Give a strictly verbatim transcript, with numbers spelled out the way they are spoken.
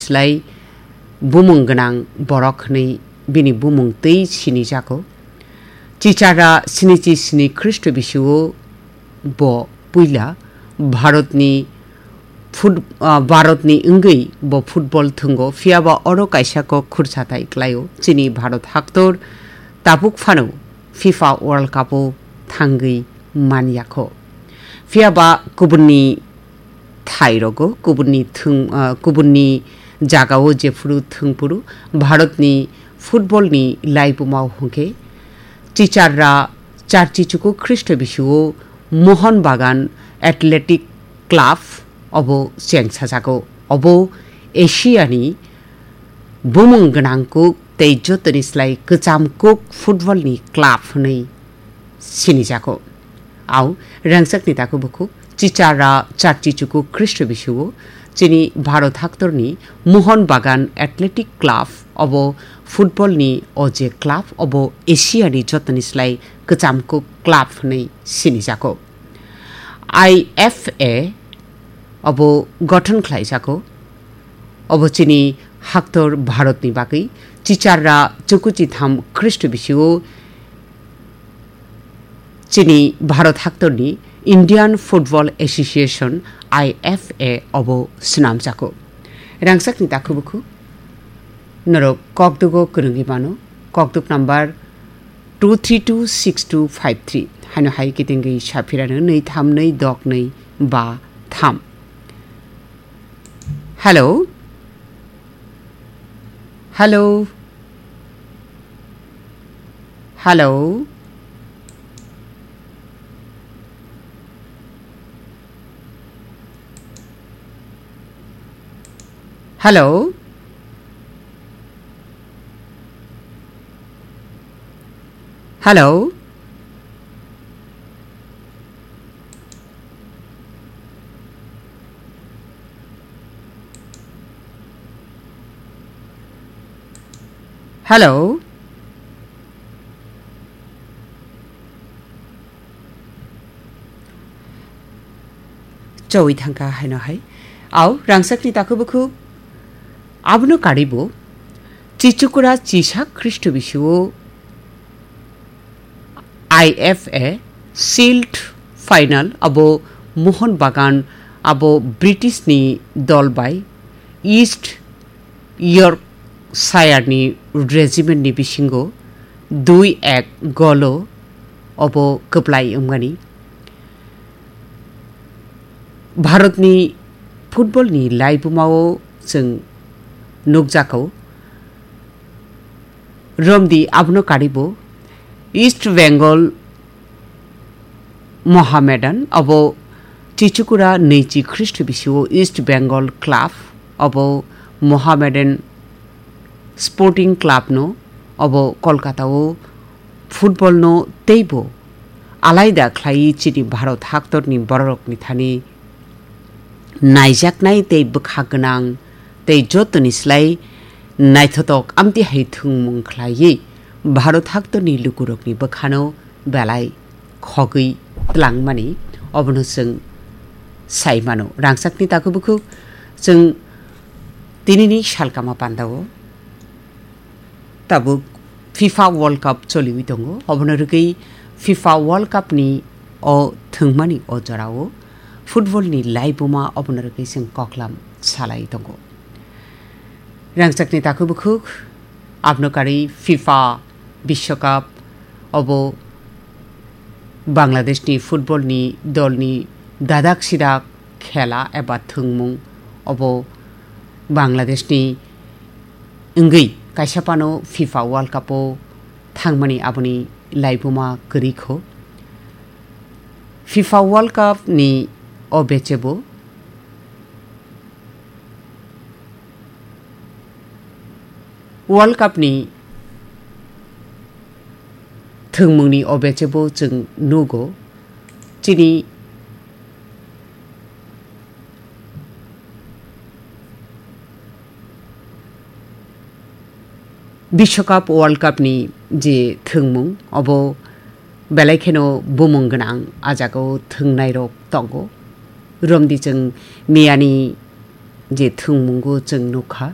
slai bumung gwnang borok hwnwi bini bumung twi sinijago. Chichara sinichi sini Khristo bisio bo puila Bharatni fut-, ah, Bharatni wngwi bo football thwngo, phiyaba oro kaisa kok khursathai klaio. Chini Bharat haktor tabuk phano FIFA World Cup-o thangwi manyakho. Phiyaba kubunni thairogo, kubunni thwng-, ah, kubunni jagao jephuru thwngphuru Bharatni football-ni laibumao hwnkhe Chicharra Charchichuku Khristo bisio Mohon Bagan Athletic Club obo chengsajago. Obo Asiani bumung gwnang kuk tei jotoni slai kwcham kuk football ni club hwnwi sinijago. Au rangchakni takhuk bukhuk Chichara Charchichuku Khristo bisio chini Bharat haktorni Mohon Bagan Athletic Club obo football ni o je club obo Asia ni jotoni slai kwcham kuk club hwnwi sinijago. I F A obo gothon khlaijago. Obo chini haktor Bharatni bagwi Chicharra chukuchitham Khristo bisio chini Bharat haktorni Indian Football Association, I F A, obo swnamjago. Rangchakni takhuk bukhuk norok kokdugo kwrwngwi mano, kokduk number two three two six two five three. Haino hai kitingwi saphirano nwi tham nwi dok nwi ba tham. Hello? Hello? Hello? Hello? Hello? Hello? Chowi thangkha haino hai. Au, rangchakni takhuk bukhuk. Abono karibo. Chichukura chisa Khristo bisio I F A Shield final abo Mohon Bagan abo British ni dol bai East Yorkshire ni regiment ni bisingo dui ek golo obo kwplai wngmani. Bharatni football ni laibumao chwng nukjakho. Romdi abono karibo East Bengal Mohammedan obo Chichukura nwichi Khristo bisio East Bengal Club obo Mohammedan Sporting Club no obo Kolkata o football no teibo alaida khlai chini Bharat haktorni bororokni thani naijaknai tei bwkha gwnang tei jotoni slai naithotok amtwi hai thwngmung khlaiwi Bharat haktorni lukurokni bwkhano belai khogwi tlangmani obono chwng sai mano. Rangchakni takhuk bukhuk chwng tinini salkama pandao tabuk FIFA World Cup choliwi tongo. Obono rwgwi FIFA World Cup ni o thwngmani o jorao football ni laibuma obono rwgwi chwng koklam salai tongo. Rangchakni takhuk bukhuk abno kari FIFA Biswakap obo Bangladeshni footballni dolni dadak sidak khela eba thwngmung obo Bangladeshni wngwi kaisa phano FIFA World Cup-o thangmani aboni laibuma kwrwi kho. FIFA World Cup-ni o bechebo World Cup-ni thwngmungni o bechebo chwng nugo. Chini Biswakap World Cup-ni je thwngmung, obo belai kheno bumung gwnang, a jagao thwngnairok tongo. Romdi chwng miyani je thwngmungo chwng nukha,